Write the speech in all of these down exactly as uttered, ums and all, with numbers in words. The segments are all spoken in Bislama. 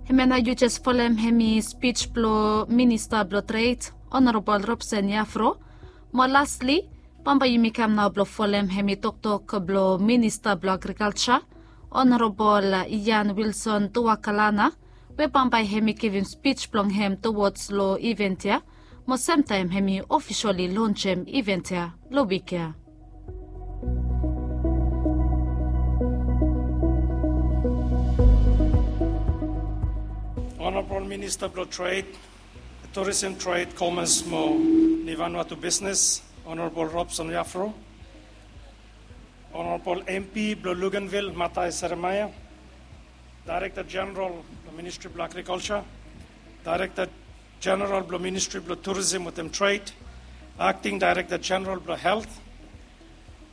Hemia nao yu jes folem hemi spij blong Minista blong Tred, Honorabol Robson Iafro. Mo lasli, bambae yumi kam nao blong folem hemi toktok blong Minista blong Agrikalja, Honorabol Ian Wilson Tuakalana, we bambae hemi givim spij blong hem tuwods long iven ya, mo semtaem hemi ofisali lonsem iven ya long wik ya. Honorabol Minista blong Tred, Turisem, Tred, Komas mo Vanuatu Bisnes, Honorabol Robson Iafro, Honorabol M P blong Luganville, Matai Seremaia, Daerekta Jeneral blong Ministri blong Agrikalja, Daerekta Jeneral blong Ministri blong Turisem wetem Tred, Akting Daerekta Jeneral blong Helt,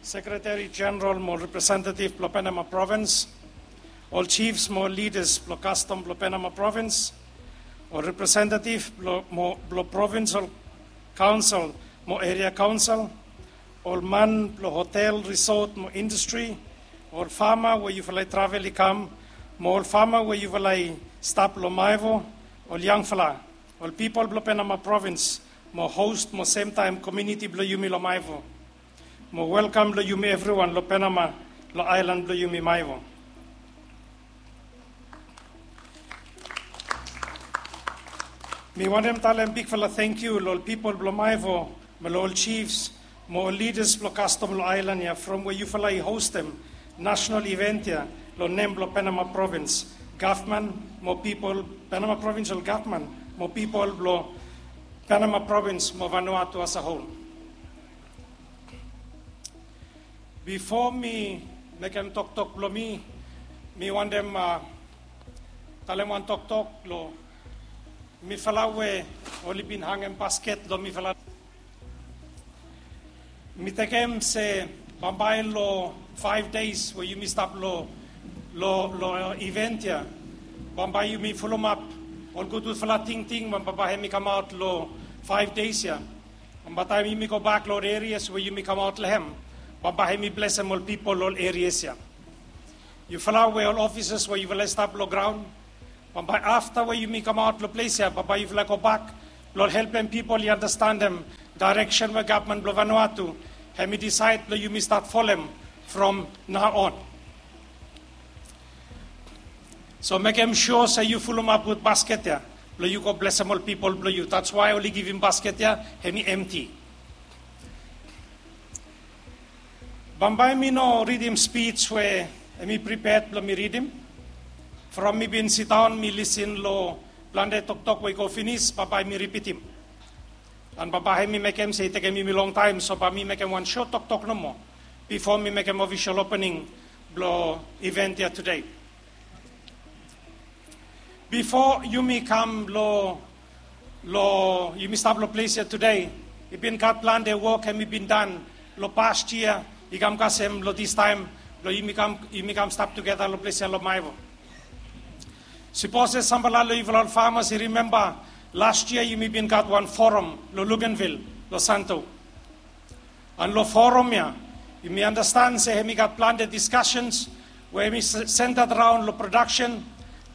Sekretari Jeneral mo representetiv blong Penama Provins, ol jifs mo lidas blong kastom blong Penama Provins, ol representetiv blong, mo, blong provinsal kaonsel mo eria kaonsel, ol man blong hotel, risot mo indastri, ol fama we yufala i travel i kam, mo ol fama we yufala i stap long Maewo, ol yangfala, ol pipol blong Penama Provins, mo hos mo semtaem komuniti blong yumi long Maewo. Mo welkam long yumi evriwan long Penama, long aelan blong yumi Maewo. Mi wantem talem bigfala tangkiu long ol pipol blong Maewo, mo long ol jifs, mo ol lidas blong kastom long aelan ya from we yufala i hostem nasonal iven ya long nem blong Penama Provins gavman mo pipol, Penama Provinsal Gavman mo pipol blong Penama Provins mo Vanuatu as a whole. Bifo mi mekem toktok blong mi, mi wantem, a, talem wan toktok long mifala we oli bin hangem basket long mifala. Mi tekem se bambae long faef deis we yumi stap long, long, long iven ya, bambae yumi fulumap ol gudgudfala tingting we bambae hemi kamaot long faef deis ya. Bambae taem yumi gobak long ol erias we yumi kamaot long hem, bambae hemi blesem ol pipol long ol erias ya. Yufala we ol ofisas we yufala i stap long graon, bambae afta we yumi kamaot long ples ya, bambae yufala i gobak blong helpem pipol i andastanem daereksen we gavman blong Vanuatu hemi disaed blong yumi stat folem from nao on. So mekem sua se yu fulumap gud basket ya blong yu go blesem ol pipol blong yu. That's why oli givim basket ya hemi emti. Bambae mi no ridim spij we hemi priped blong mi ridim. From mi bin sidaon mi lisin long plante toktok we i go finis, bambae mi ripitim. An bambae hemi mekem se i tekem yumi longtaem, so bae mi mekem wan sot toktok nomo bifo mi mekem ofisol opening blong iven ya tede. Bifo yumi kam long, long, yumi stap long ples ya tede, i bin gat plante wok hemi bin dan long pas yia, i kam kasem long distaem blong yumi kam, yumi kam stap tugeta long ples ya long Maewo. Sipos se samfala long yufala ol famas i rimemba, las yia yumi bin gat wan foram long Luganville, long Santo. An long foram ya, yumi andastan se hemi gat plante diskasens we hemi se-, sentat raon long prodaksen,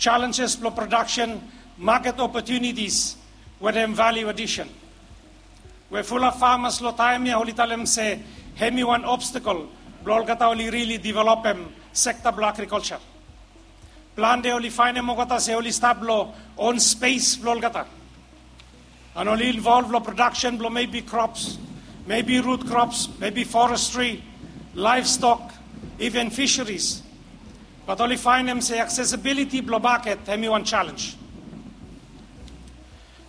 jalenjes blong prodaksen, maket opotunitis wetem valiu adisen. We fulap famas long taem ya oli talem se hemi wan obstakel blong olgeta oli rili developem sekta blong agrikalja. Plante oli faenem olgeta se oli stap long on spes blong olgeta. An oli involv long prodaksen blong maybe crops, maybe root crops, maybe forestry, livestock, even fisheries. Bat oli faenem se aksesibiliti blong maket hemi wan jalenj.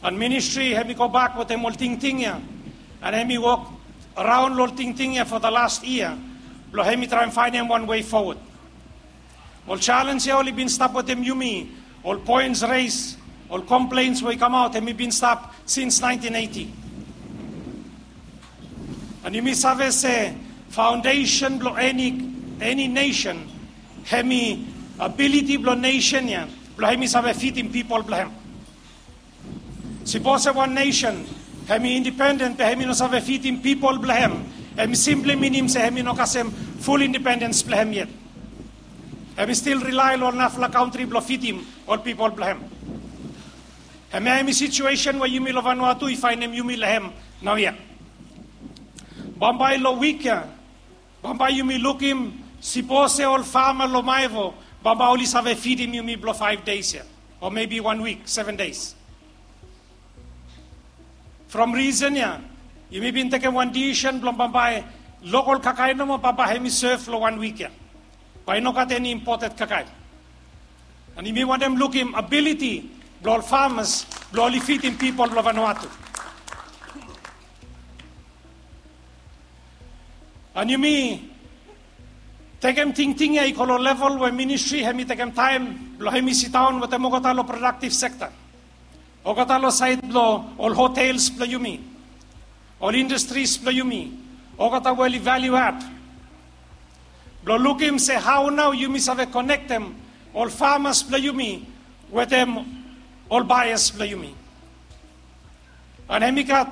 An ministri hemi gobak wetem ol tingting ya, an hemi wok raon long ol tingting ya for the last yia blong hemi traem faenem wan wei fowod. Ol jalenj ya oli bin stap wetem yumi, ol poens res, ol komplens we i kamaot, hemi bin stap sins naentin eiti. An yumi save se faondesen blong eni, eni nesen hemi abiliti blong nesen ya blong hemi save fidim pipol blong hem. Sipos se wan nesen hemi indipenden be hemi no save fidim pipol blong hem, hemi simpli minim se hemi no kasem ful indipendens blong hem yet. Hem i stil rilae long ol narafala kantri blong fidim ol pipol blong hem. Hemia hem i situesen we yumi long Vanuatu i faenem yumi long hem naoia. Bambae long wik ya, bambae yumi lukim, sipos se ol fama long Maevo bambae oli save fidim yumi blong faef deis ya, o mebi wan wik, seven deis. From risen ya, yumi bin tekem wan disisen blong bambae lokol kakae nomo bambae hem i sev long wan wik ya. Bae i no gat eni impoted kakae. An yumi wantem lukim abiliti blong ol famas blong oli fidim pipol blong Vanuatu. An yumi tekem tingting ya i go long level we ministri hem i tekem taem blong hem i sidaon wetem olgeta long prodaktiv sekta, olgeta long saed blong ol hotels blong yumi, ol indastris blong yumi, olgeta we oli valiu ad, blong lukim se hao nao yumi save konektem ol famas blong yumi wetem ol baeas blong yumi. An hem i gat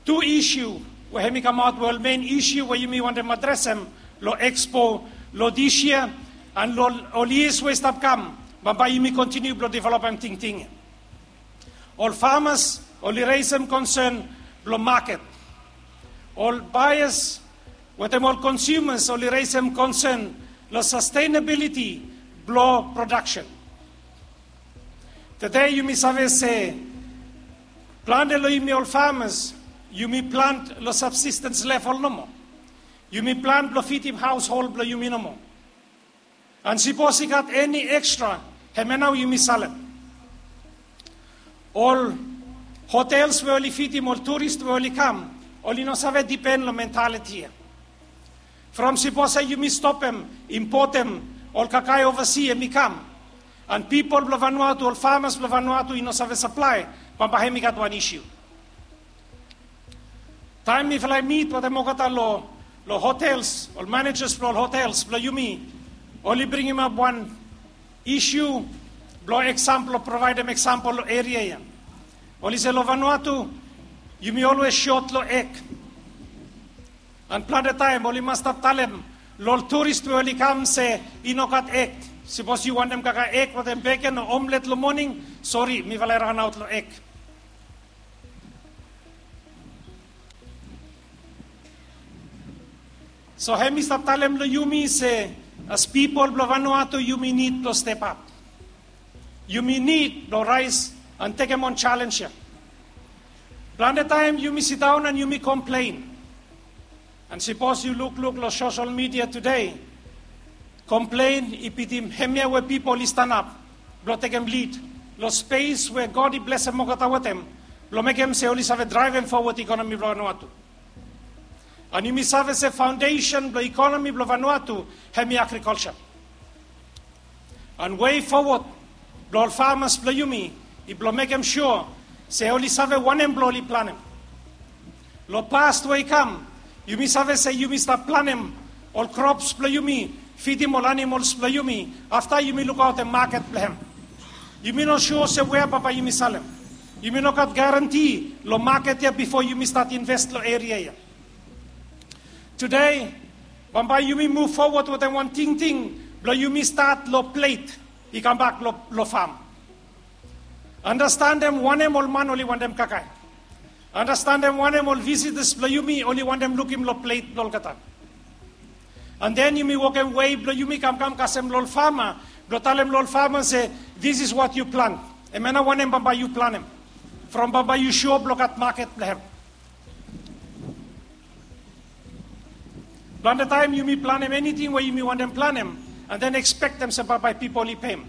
tu isiu we hem i kamaot we ol men isiu we yumi wantem adresem long ekspo long dis yia an long ol yias we i stap kam, bambae yumi kontiniu blong developem tingting ya. Ol famas oli resem konsen blong maket. Ol baeas wetem ol konsumas oli resem konsen long sastenabiliti blong prodaksen. Tede yumi save se plante long yumi ol famas, yumi plant long sabsistens level nomo. Yumi plant blong fidim haoshol blong yumi nomo. An sipos i gat eni ekstra, hemia nao yumi salem. Ol hotels we oli fidim ol turis we oli kam, oli no save dipen long mentaliti ya. From sipos se yumi stopem impotem ol kakae ovasi hem i kam, an pipol blong Vanuatu, ol famas blong Vanuatu i no save saplae, bambae hem i gat wan isiu. Taem mifala i mit wetem olgeta long hotels, ol manejas blong ol hotels blong yumi, oli bringimap wan isiu blong eksampol, provaedem eksampol long eria ya. Oli se long Vanuatu yumi olwes sot long eg. An plante taem oli mas stap talem long ol turis we oli kam se i no gat eg. Sipos yu wantem kakae eg wetem beken o omlet long moning, sori, mifala i ranaot long eg. So hem i stap talem long yumi se as pipol blong Vanuatu yumi nid blong step ap. Yumi nid blong raes an tekem on jalenj ya. Plante taem yumi sidaon an yumi komplen. An sipos yu lukluk long sosel midia tede, komplen i bitim hemia we pipol i stanap blong tekem lid long spes we God i blesem olgeta wetem blong mekem se oli save draevem fowod ikonomi blong Vanuatu. An yumi save se faondesen blong ikonomi blong Vanuatu hem i agrikolja. An wei fowod blong ol famas blong yumi i blong mekem sua se oli save wanem blong oli planem. Long pas we i kam, yumi save se yumi stap planem ol krops blong yumi, fidim ol animols blong yumi, afta yumi lukaotem maket blong hem. Yumi no sua se wea bambae yumi salem. Yumi no gat garanti long maket ya bifo yumi stat inves long eria ya. Tede bambae yumi muv fowod wetem wan tingting blong yumi stat long plet i kambak long fam. Andastanem wanem ol man oli wantem kakae. Andastanem wanem ol visitas blong yumi oli wantem lukim long plet blong olgeta. An den yumi wokem wei blong yumi kamkam kasem long ol fama blong talem long ol fama se, this is what you plant. Hemia nao wanem bambae yu planem. From bambae yu sua blong gat maket blong hem. Plante taem yumi planem eniting we yumi wantem planem, an den ekspektem se bambae pipol i pem.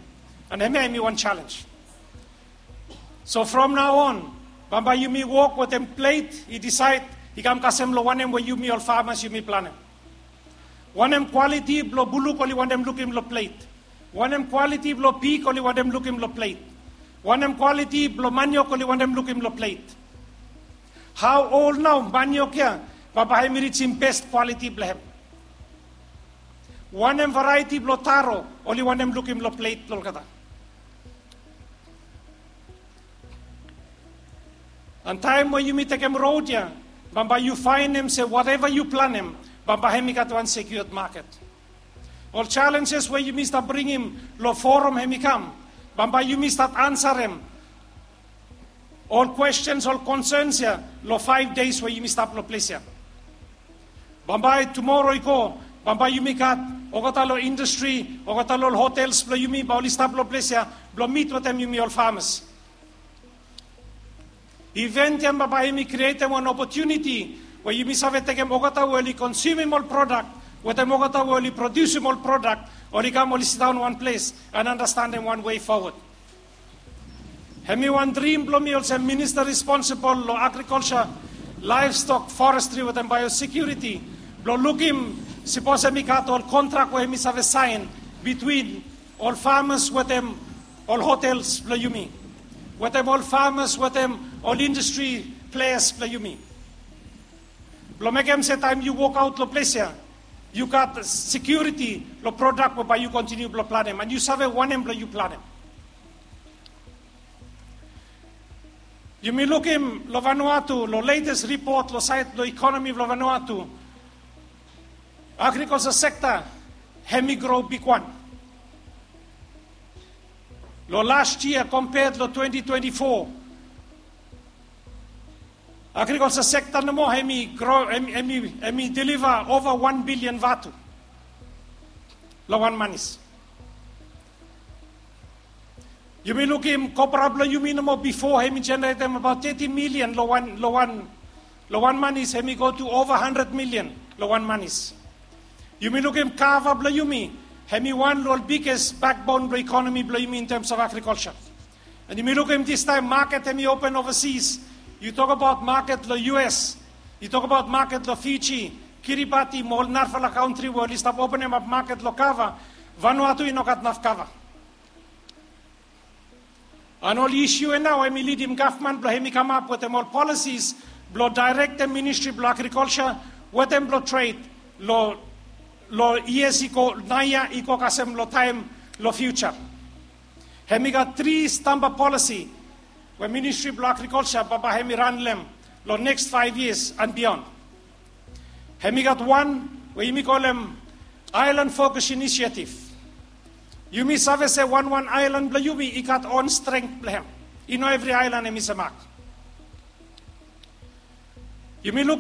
An hemia hemi wan jalenj. So from nao on, bambae yumi wok wetem plet i disaed i kam kasem long wanem we yumi ol famas yumi planem. Wanem kwaliti blong buluk oli wantem lukim long plet. Wanem kwaliti blong pig oli wantem lukim long plet. Wanem kwaliti blong maniok oli wantem lukim long plet. Hao ol nao maniok ya bambae hemi rijim bes kwaliti blong hem. Wanem varaeti blong taro oli wantem lukim long plet blong olgeta. An taem we yumi tekem rod ya, bambae yu faenem se wateva yu planem bambae hemi gat wan sekiuad maket. Ol challenges we yumi stap bringim long forum hemi kam, bambae yumi stap ansarem ol questions, ol concerns ya long five days we yumi stap long ples ya. Bambae tumora i go, bambae yumi gat olgeta long industry, olgeta long hotels blong yumi bae oli stap long ples ya blong mit wetem yumi ol farmers. Event ya bambae hemi krietem wan opportunity we yumi save tekem olgeta we oli consumeim ol product wetem olgeta we oli produceim ol product, oli kam oli sidaon wan ples and understandem wan way forward. Hemi wan drim blong mi olsem minister responsible long agriculture, livestock, forestry wetem biosecurity, blong lukim sipos hemi gat ol kontrak we hemi save saen between ol farmers wetem ol hotels blong yumi, wetem ol farmers wetem ol industry players blong yumi, blong mekem se taem yu wokaot long ples ya yu gat security long product we bae yu continue blong planem and yu save wanem blong yu planem. Yumi lukim long Vanuatu, long latest report long saed blong economy blong Vanuatu, agriculture sector hemi grow bigwan. Long last year compared long twenty twenty-four, agriculture sector nomo hemi grow, hemi, hemi, hemi deliver over one billion vatu long wan manis. Yumi lukim kopra blong yumi nomo bifo hemi generatem abaot thirty million long wan, long wan, long wan manis, hemi go to over hundred million long wan manis. Yumi lukim kava blong yumi, hemi wan long ol biggest backbone blong economy blong yumi in terms of agriculture. And yumi lukim distaem market hemi open overseas. Yu tok abaot market long U S, yu tok abaot market long Fiji, Kiribati mo ol narafala country we oli stap openem ap market long kava. Vanuatu i no gat naf kava. And ol issue ya nao hemi lidim gavman blong hemi kamap wetem ol policies blong directem ministry blong agriculture wetem blong trade long, long years i go, naoia i go kasem long taem long future. Hemi gat tri stamba policy we ministry blong agriculture bambae hemi ran long hem long next five years and beyond. Hemi gat wan we yumi kolem island focus initiative. Yumi save se wanwan aelan blong yumi i gat on strength blong hem. I no evri aelan hemi se mak. Yumi luk